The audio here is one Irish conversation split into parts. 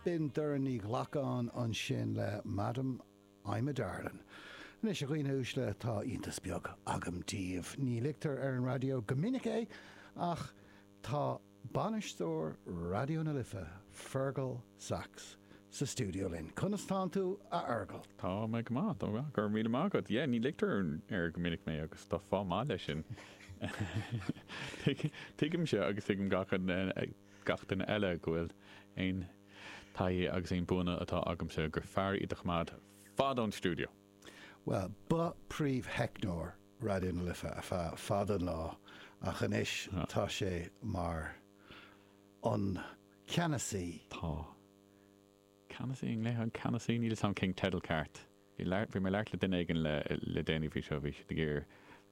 B'in Doireann Ní Ghlacáin ansin le Madam I'm a Darlin'. Anois, a dhaoine uaisle, tá iontas beag agam daoibh. Ní ligtear ar an raidió go minic é, ach tá bainisteoir Raidió na Life, Fergal Sachs, sa stiúideo linn. Conas tánn tú, a Fheargail? Tá mé go maith, tá mé go maith. Go raibh míle maith agat. Yeah, ní ligtear air go minic mé agus tá fáth maith leis sin. Tuigimse agus tuigeann gach gach duine eile go bhfuil aon taithí agus aon buanna atá agamsa gur fearr iad a choimeád fad ón stiúideo. Bhuel, ba príomh-theicneoir Raidió na Life ar feadh fada an lá ach anois tá sé mar an ceannasaí. Tá. Ceannasaí, an nglaofá ceannasaí? Níl 'fhios a'm cén teideal ceart. Bhí bhí mé ag labhairt le duine éigin le le déanaí faoi seo, bhí siad ag iarraidh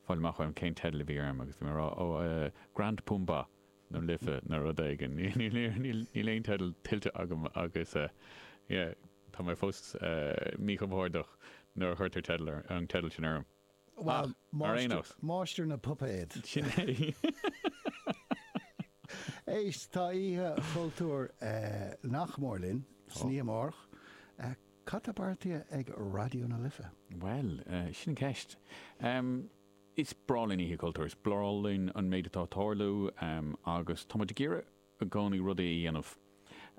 fáil amach uaim cén teideal a bhí orm agus bhí mé ag rá, ó, eh, Grand Pumbaa na Life nó rud éigin. Níl aon teideal tuillte agam agus, eh, yeah, tá mé fós, eh, míchompordach nuair a chuirtear teideal ar, an teideal sin orm. Ach, ar aon nós. Máistir na bpuipéad. Sin é. Éist, tá Oíche Chultúir nach mór linn, san oíche amárach. Cad tá beartaithe ag Raidió na Life? Bhuel, sin an ceist. Is breá linn Oíche Chultúir, is breá linn an méid atá ag tarlú agus tá muid ag iarraidh i gcónaí rudaí a dhéanamh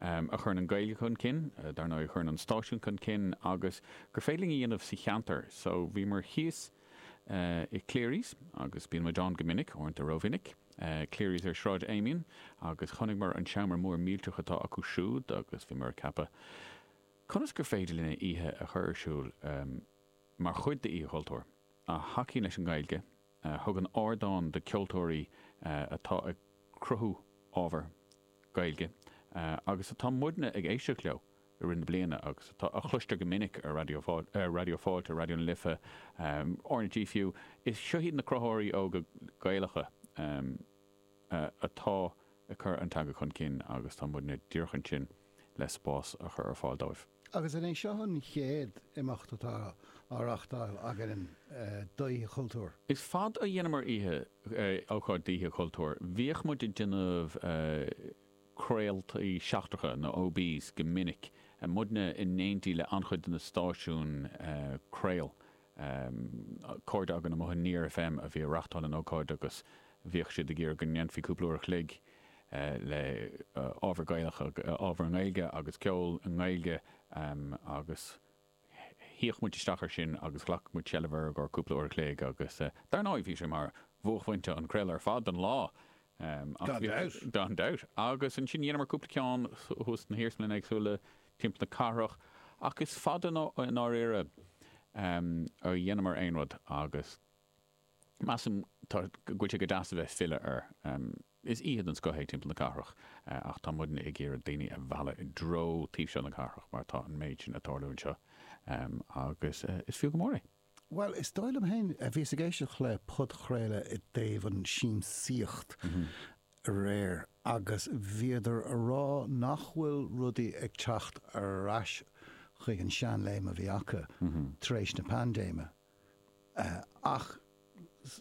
a chuireann an Ghaeilge chun cinn, dar ndóigh a chuireann an stáisiún chun cinn agus gur féidir linn a dhéanamh sa cheantar. So bhíomar thíos i Cleary's agus bíonn muid ann go minic, uaireanta rómhinic, Cleary's ar Sráid Amiens agus chonaiceamar an seomra mór millteach atá acu siúd agus bhíomar ag ceapadh conas gur féidir linn oíche a chur ar siúl mar chuid d'Oíche Chultúir a thacaíonn leis an nGaeilge, a thugann ardán do ceoltóirí atá ag cruthú ábhar Gaeilge agus atá muidne ag éisteacht leo i rith na bliana agus atá a chloistear go minic ar Raidió Raidió Fáilte, Raidió na Life, RnaG fiú. Is seo iad na cruthaitheoirí óga Gaelacha atá ag cur an teanga chun cinn agus tá muidne díreach ansin le spás a chur ar fáil dóibh. Agus an é seo an chéad imeacht atá á reáchtáil againn d'Oíche Chultúir? Is fada a dheineamar oíche, ócáid d'Oíche Chultúir. Bhíodh muid ag déanamh craoltaí seachtracha, nó OBs, go minic, muidne in éindí le an-chuid de na stáisiúin craol. Cairde againn amuigh in Near FM a bhí ag reáchtáil an ócáid agus bhíodh siad ag iarraidh go ndéanfaí cúpla uair a chloig le ábhar Gaelach, ábhar i nGaeilge agus ceol i nGaeilge agus shuíodh muid isteach air sin agus ghlac muid seilbh air i gcomhair cúpla uair a chloig agus dar ndóigh bhí sé mar bhuaicphointe an chraoladh ar fad don lá. Gan dabht. Gan dabht. Agus ansin dheineamar cúpla ceann thuas sna hiarsmalanna éagsúla timpeall na cathrach ach is fada i ndáiríre a dheineamar aon rud agus measaim go bhfuil sé go deas a bheith ag filleadh air. Is oíche den scoth é timpeall na cathrach ach tá muidne ag iarraidh daoine a mhealladh i dtreo taobh seo na cathrach mar tá an méid sin ag tarlú anseo agus is fiú go mór é. Bhuel, is dóigh liom féin, bhíos ag éisteacht le podchraoladh i dtaobh an siamsaíocht aréir agus bhíodar a rá nach bhfuil rudaí ag teacht ar ais chuig an seanléim a bhí acu tar éis na paindéime. Ach,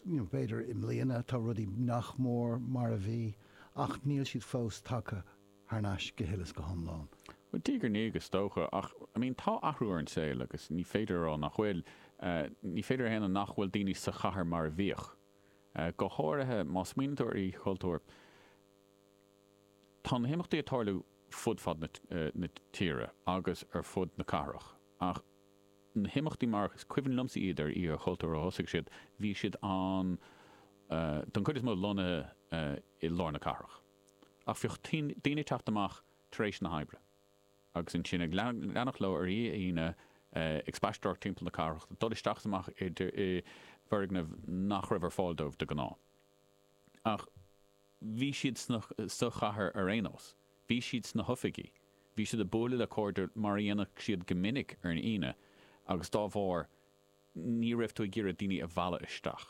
you know, b'fhéidir i mbliana tá rudaí nach mór mar a bhí ach níl siad fós tagtha thar n-ais go huile is go hiomlán. Bhuel, diaidh ar ndiaidh is dócha, ach, I mean, tá athrú ar an saol agus ní féidir a rá nach bhfuil. Ní féidir a shéanadh nach bhfuil daoine sa chathair mar a bhíodh. Go háirithe má smaoiníonn tú ar Oíche Chultúir, tá na himeachtaí ag tarlú fud fad na tíre agus ar fud na cathrach ach na himeachtaí mar is cuimhin liomsa iad ar Oíche Chultúir ó thosaigh siad, bhí siad an, don chuid is mó lonnaithe i lár na cathrach. Ach bhíodh daoine ag teacht amach tar éis na hoibre agus ansin ag leanacht leo ar oíche Aoine ag spaisteoireacht timpeall na cathrach, ag dul isteach is amach i bhfoirgnimh nach raibh ar fáil dóibh de ghnáth. Ach bhí siad sa chathair ar aon nós. Bhí siad sna hoifigí. Bhí siad ag bualadh le cairde mar a dhéanadh siad go minic ar an Aoine agus dá bharr ní raibh tú ag iarraidh daoine a mhealladh isteach.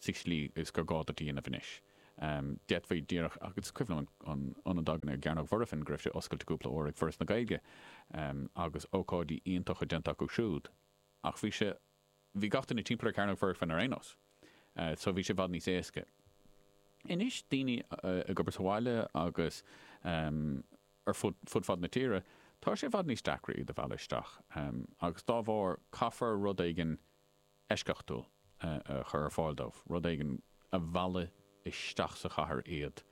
sa tslí is gur gá duit a dhéanamh anois. D'fhéadfaí díreach, agus is cuimhin liom an ionad againn ar gCearnóg Mhuirfean go raibh sé oscailte cúpla uair ag Foras na Gaeilge agus ócáidí iontacha déanta acu siúd ach bhí sé, bhí gach duine timpeall ar Chearnóg Mhuirfean ar aon nós so bhí sé i bhfad níos éasca. Anois daoine ag obair sa bhaile agus ar fud fad na tíre. Tá sé i bhfad níos deacra iad a mhealladh isteach agus dá bharr caithfear rud éigin eisceachtúil a chur ar fáil dóibh, rud éigin a mheallfaidh isteach sa chathair iad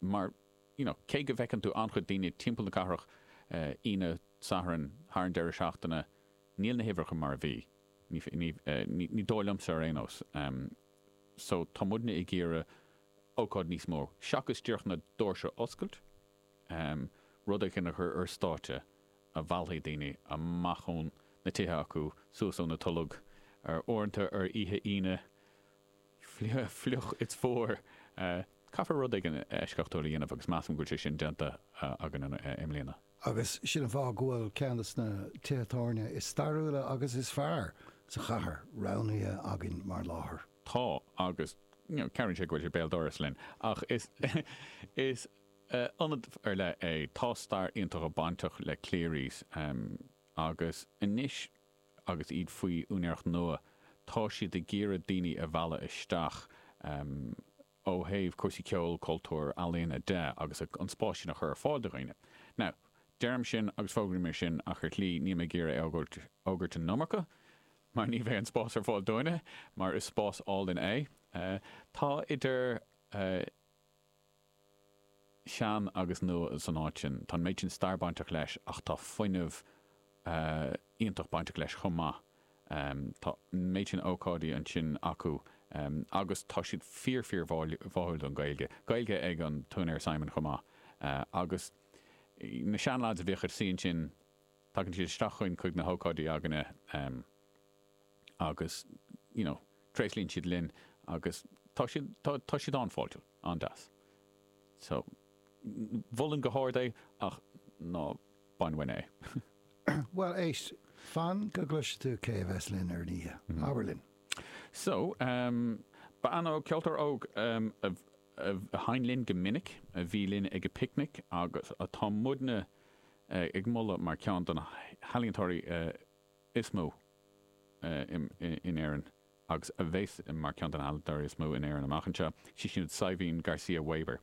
mar you know cé go bhfeiceann tú an-chuid daoine timpeall na cathrach Aoine, Satharn, thar an deireadh seachtaine, níl na huimhreacha mar a bhí, ní dóigh liomsa ar aon nós. So tá muidne ag iarraidh ócáid níos mó, seachas díreach na doirse a oscailt, rud éigin a chur ar stáitse a mheallfaidh daoine amach ón na tithe acu, suas ó na tolg, ar uaireanta ar oíche Aoine, fliuch is fuar. Caithfear rud éigin eisceachtúil a dhéanamh agus measaim go bhfuil sé sin déanta againn i mbliana. Agus sin an fáth go bhfuil ceann de na tithe tábhairne is stairiúla agus is fearr sa chathair roghnaithe againn mar láthair. Tá, agus you know cabhraíonn sé go bhfuil sé béal dorais linn, ach is is ionad ar leith é. Tá stair iontach bainteach le Cleary's agus anois agus iad faoi úinéireacht nua, tá siad ag iarraidh daoine a mhealladh isteach ó thaobh cúrsaí ceoil, cultúir, ealaíona de agus an spás sin a chur ar fáil do dhaoine. Now, deirim sin agus fógraím é sin ach ar shlí níl mé ag iarraidh é a fhógairt an iomarca mar ní bheidh an spás ar fáil dúinne mar is spás álainn é. Tá idir. sean agus nua san áit sin. Tá an méid sin stair bainteach leis ach tá fuinneamh iontach bainteach leis chomh maith. Tá an méid sin ócáidí ansin acu agus tá siad fíor fíor bháúil don Ghaeilge. Gaeilge ag an t-úinéir Simon chomh maith. Agus na seanleaids a bhíodh ag suí ansin, tagann siad isteach chugainn chuig na hócáidí againne. agus you know tréaslaíonn siad linn agus tá siad, tá, tá siad an-fháiltiúil, an-deas. So, mholfainn go hard é ach ná bain uainn é. Bhuel, éist, fan go gcloisfidh tú cé a bheas linn ar an oíche. Abair linn. So, bean óg, ceoltóir óg a a sheinn linn go minic, a bhí linn ag an bPicnic agus atá muidne ag moladh mar cheann de na healaíontóirí is mó in Éirinn agus a bheas mar cheann de na healaíontóirí is mó in Éirinn amach anseo, sí siúd Saidhbhín Garcia Weber,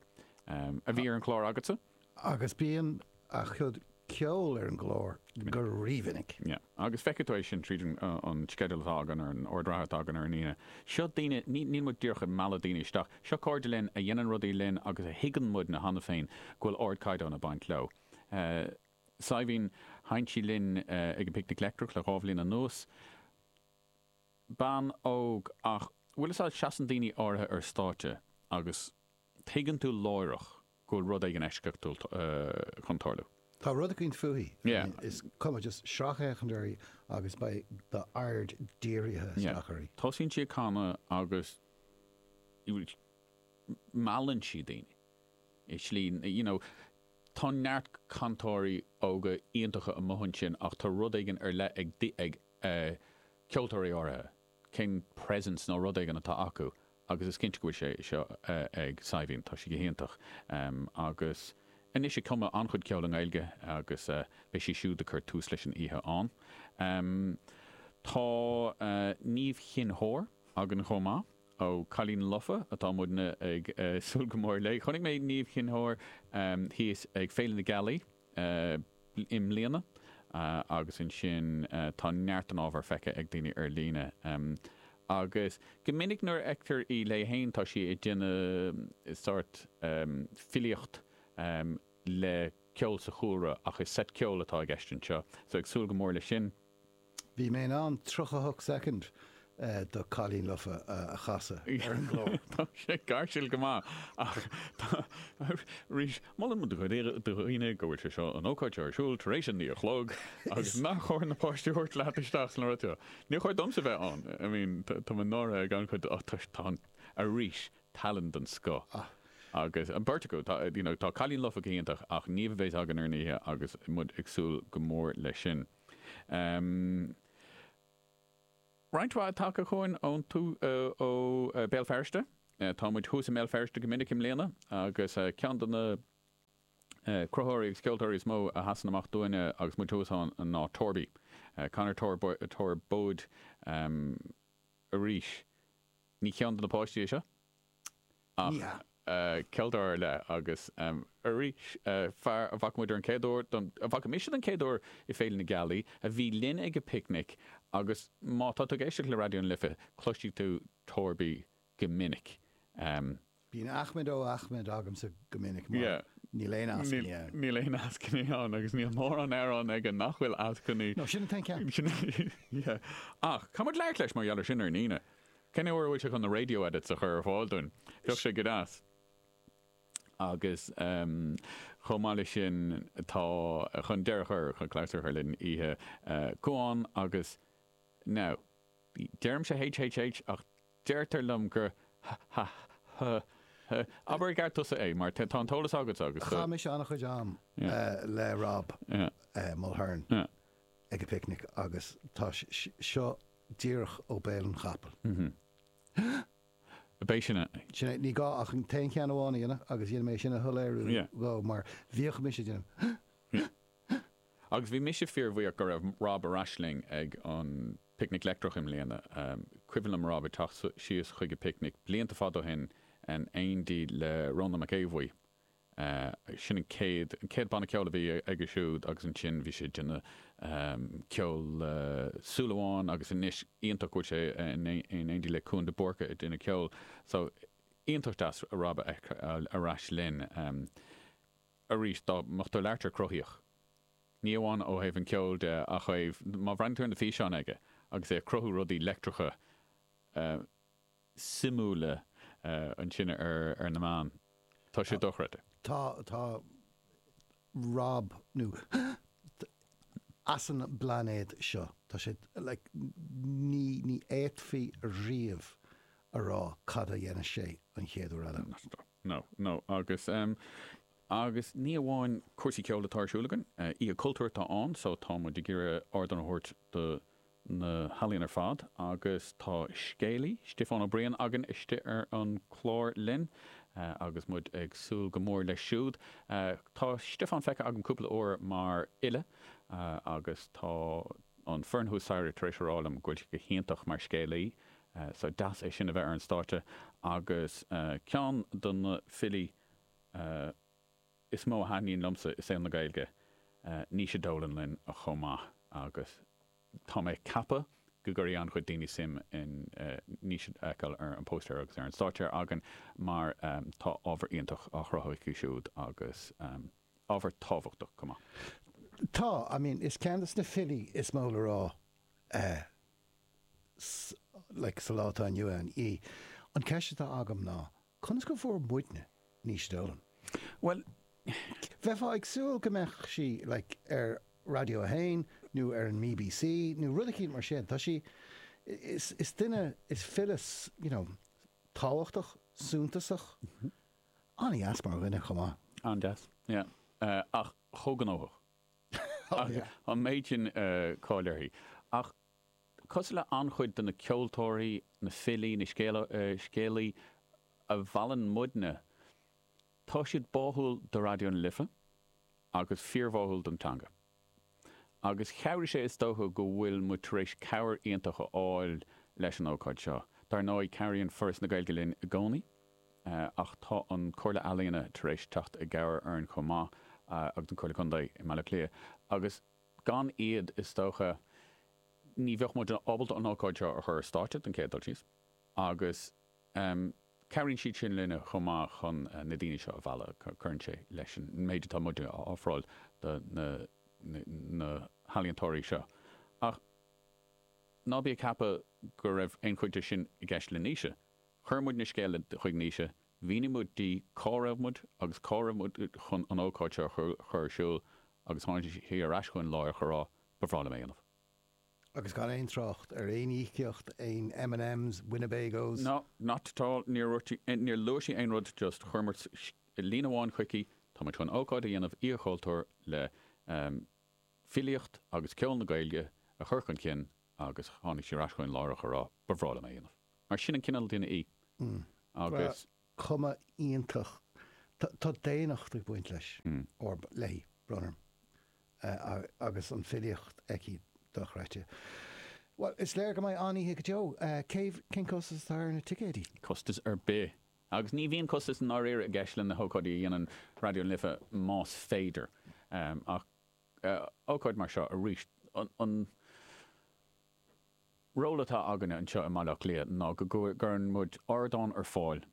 a bhí ar an chlár agatsa. Agus bíonn a cuid ceoil ar an gclár go rímhinic. Yeah. Agus feicfidh tú é sin tríd an sceideal atá againn ar an ord reatha atá againn ar an Aoine. Seo daoine, níl muid díreach ag mealladh daoine isteach, seo cairde linn a dhéanann rudaí linn agus a thuigeann muidne cheana féin go bhfuil ardchaighdeán ag baint leo. Saidhbhín, sheinn sí linn ag an bPicnic Leictreach le 2 bhliain anuas. Bean óg ach, bhfuil fhios a'd, seasann daoine áirithe ar stáitse agus tuigeann tú láithreach go bhfuil rud éigin eisceachtúil chun tarlú. Tá rud eicínt fúithi. I mean, is cuma, just sracfhéachaint uirthi agus beidh d'aird dírithe isteach uirthi. Tosaíonn sí ag canadh agus meallann sí daoine. I slí, you know, tá neart cantóirí óga iontacha amuigh ansin ach tá rud éigin ar leith ag ag ceoltóirí áirithe, cén presence nó rud éigin atá acu agus is cinnte go bhfuil sé seo ag Saidhbhín, tá sí go hiontach agus anois ag cumadh an-chuid ceoil i nGaeilge agus beidh sí siúd ag cur tús leis an oíche ann. Tá Niamh Chinn Óir againn chomh maith. Ó Cailín Lofa atá muidne ag súil go mór léi. Chonaic mé Niamh Chinn Óir thíos ag Féile na Gealaí i mbliana agus ansin tá neart den ábhar feicthe ag daoine ar líne. Agus go minic nuair a fheictear í léi féin tá sí ag déanamh sórt filíocht le ceol sa chúlra ach is seit ceoil atá i gceist anseo so ag súil go mór leis sin. Bhí mé in ann 38 soicind do Cailín Lofa a chasadh ar an gclár. Tá sé gáirsiúil go maith ach tá, arís, molann muid do dhaoine go bhfuil sé seo, an ócáid seo ar siúl tar éis a 9 a chlog agus nár chóir na páistí a thabhairt leat isteach sna rud seo. Níor chóir domsa bheith ann. I mean, tá mé náirithe ag an-chuid, ach tá an, arís, tallann den scoth. Agus an bheirt acu, tá, you know, tá Cailín Lofa go hiontach ach Niamh a bheas againn ar an oíche agus muid ag súil go mór leis sin. Roinnt mhaith tagtha chugainn ón ó Béal Feirste. Tá muid thuas i mBéal Feirste go minic i mbliana agus ceann de na cruthaitheoirí agus ceoltóirí is mó a sheasann amach dúinne agus muid thuas ann ná Torby. Conor Torbóid arís. Ní ceann de na páistí é seo ach. Ní hea. Ceoltóir ar leith agus arís fear a bhfaca muid ar an chéad uair, a bhfaca mise don chéad uair i Féile na Gealaí, a bhí linn ag an bPicnic agus má tá tú ag éisteacht le Raidió na Life cloisfidh tú Torby go minic. Bíonn Ahmed ó Ahmed agamsa go minic mar níl aon eascainí ann. Níl aon eascainí ann agus níl mórán amhrán aige nach bhfuil eascainí. No, sin an t-aon cheann. Yeah. Ach caithfidh muid labhairt leis mar gheall ar sin ar an Aoine. Cén uair a bhfuil sé chun na radio edits a chur ar fáil dúinn? Bheadh sé go deas. Agus chomh maith leis sin tá, chun deireadh a chur, chun clabhsúr a chur linn oíche, Cuán agus, now, deirimse HHH ach deirtear liom gur h h h h, abair i gceart tusa é mar tá an t-eolas agatsa agus. Chaith mise an-chuid am le Rob Mulhern ag an bPicnic agus tá seo díreach ó béal an chapaill. B'é sin é. Sin é. Ní gá ach an t-aon cheann amháin a dhéanamh agus dhéanfaidh mé sin a shoiléiriú dhó mar bhíodh mise ag déanamh. Agus bhí mise fíorbhuíoch go raibh Rob ar ais linn ag an Picnic Leictreach i mbliana. Cuimhin liom Rob ag teacht síos chuig an bPicnic blianta fada ó shin in éindí le Rónán Mac Aodha Bhuí. Sin an chéad, an chéad banna ceoil a bhí aige siúd agus ansin bhí sé ag déanamh ceol le Súil Amháin agus anois iontach go bhfuil sé in éindí le Cuan de Búrca ag déanamh ceoil. So iontach deas Rob a fheiceáil ar ais linn arís dá mbeadh tú ag labhairt ar cruthaíoch. Ní amháin ó thaobh an ceoil de ach ó thaobh, má bhreathnaíonn tú ar na físeáin aige agus é ag cruthú rudaí leictreacha suimiúla ansin ar na meáin. Tá sé dochreidte. Tá, tá Rob, nó as an bplainéad seo. Tá sé, like, ní, ní fhéadfaí riamh a rá cad a dhéanfas sé an chéad uair eile. No, no, agus, agus ní amháin cúrsaí ceoil atá ar siúl againn, Oíche Cultúir atá ann, so tá muid ag iarraidh ardán a thabhairt do na healaíona ar fad agus tá scéalaí, Stiofán Ó Briain, againn istigh ar an chlár linn agus muid ag súil go mór leis siúd. Tá Stiofán feicthe agam cúpla uair mar fhile agus tá an foireann thuas staighre tar éis a rá liom go bhfuil sé go hiontach mar scéalaí so deas é sin a bheith ar an stáitse agus ceann de na filí is mó a thaitníonn liomsa i saol na Gaeilge, Naoise Dolan linn chomh maith agus tá mé ag ceapadh go gcuirfidh an-chuid daoine suim in Naoise a fheiceáil ar an bpóstaer agus ar an stáitse againn mar tá ábhar iontach á chruthú aici siúd agus ábhar tábhachtach chomh maith. Tá, I mean, is ceann de na filí is mó le rá like sa lá atá inniu ann í. An ceist atá agam ná, Conas go bhfuair muidne Naoise Dolan? Bhuel. Bheifeá ag súil go mbeadh sí like ar Raidió 1 nó ar an mBBC nó rud eicínt mar sin. Tá sí, is, is duine, is file you know tábhachtach, suntasach, an-dheas mar dhuine chomh maith. An-deas, yeah. Ach chomh gnóthach. Oh yeah. An méid sin cáil uirthi. Ach Cosúil le an-chuid de na ceoltóirí, na filí, na scéalaí a mheallann muidne, tá siad báúil do Raidió na Life agus fíorbháúil don teanga. Agus chabhraigh sé is dócha go bhfuil muid tar éis cabhair iontach a fháil leis an ócáid seo. Dar ndóigh, cabhraíonn Foras na Gaeilge linn i gcónaí, ach tá an Comhairle Ealaíona tar éis teacht i gcabhair orainn chomh maith, agus an Comhairle Contae i mBaile Átha Cliath. Agus Gan iad, is dócha, ní bheadh muid ábalta an ócáid seo a chur ar stáitse, don chéad dul síos, agus cabhraíonn siad sin linne chomh maith chun na daoine seo a mhealladh, cuireann sé leis an méid atá muid a ofráil do na healaíontóirí seo. Ach ná bí ag ceapadh go raibh aon chuid de sin i gceist le Naoise. Chuir muidne scéala chuig Naoise, mhínigh muid di cá raibh muid agus cá raibh muid chun an ócáid seo a chur ar siúl agus tháinig sí ar ais chugainn láithreach a rá, ba bhreá liom é a dhéanamh. Agus gan aon trácht ar aon íocaíocht, aon M and M's, Winnebagos. No, not at all, níor dhúirt sí, níor luaigh sí aon rud, just chuir muid líne amháin chuici, tá muid chun ócáid a dhéanamh, Oíche Chultúir le filíocht agus ceol na Gaeilge a chur chun cinn agus tháinig sí ar ais chugainn láithreach a rá, ba bhreá liom é a dhéanamh. Mar sin an cineál duine í. Agus. Cuma iontach. Tá daonnacht ag baint leis, or léi, brón orm. Agus an filíocht aici dochreidte. Bhuel, is léir go mbeidh an-oíche go deo. Cé, cén costas atá ar na ticéidí? Costas ar bith. Agus ní bhíonn costas i ndáiríre i gceist le na hócáidí a dhéanann Raidió na Life más féidir. Ach ócáid mar seo arís, an ról atá againne anseo i mBaile Átha Cliath ná go gcuireann muid ardán ar fáil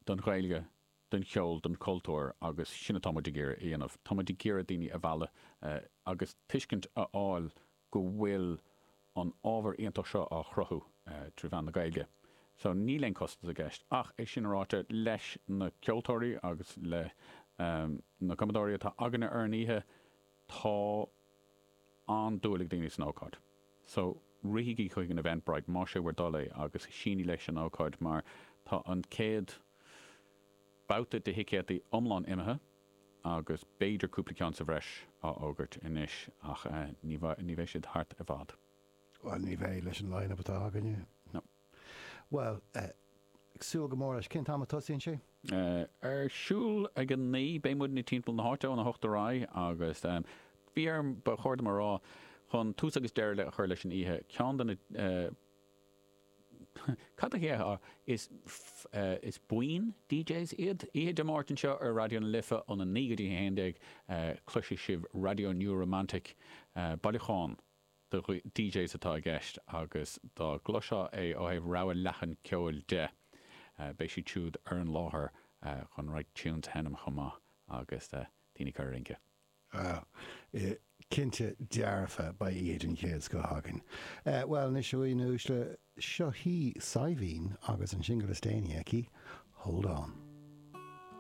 don Ghaeilge, don cheol, don chultúr agus sin atá muid ag iarraidh a dhéanamh. Tá muid ag iarraidh daoine a mhealladh agus tuiscint a fháil go bhfuil an ábhar iontach seo á chruthú trí mheán na Gaeilge. So níl aon costas i gceist. Ach é sin ráite, leis na ceoltóirí agus le na cumadóirí atá againne ar an oíche, tá an-dúil ag daoine san ócáid. So rithigí chuig an Eventbrite más é bhur dtoil é agus sínigí leis an ócáid mar tá an chéad babhta de thicéadaí iomlán imithe agus b'fhéidir cúpla ceann sa bhreis á fhógairt anois ach ní bheidh siad thart i bhfad. Bhuel, ní bheidh leis an line-up atá againne. No. Bhuel, ag súil go mór leis. Cén t-am a tosaíonn sé? Ar siúl ag a 9, beidh muidne timpeall na háite óna hocht ar aghaidh agus bhí orm, ba chóir dom a rá, chun tús agus deireadh a chur leis an oíche, ceann de na, cad a dhéarfá, is, is buíon DJs iad. Oíche Dé Máirt anseo ar Raidió na Life óna 9 go dtí a 11, cloisfidh sibh Radio New Romantic, bailiúchán de DJs atá i gceist agus dá gcloisfeá é ó thaobh rogha leathan ceoil de, beidh siad siúd ar an láthair chun roinnt tunes a sheinm chomh maith agus daoine ag cur a rince. Ah, cinnte dearfa, beidh oíche den chéad scoth againn. Bhuel, anois a dhaoine uaisle, seo hí Saidhbhín agus an singil is déanaí aici, Hold On.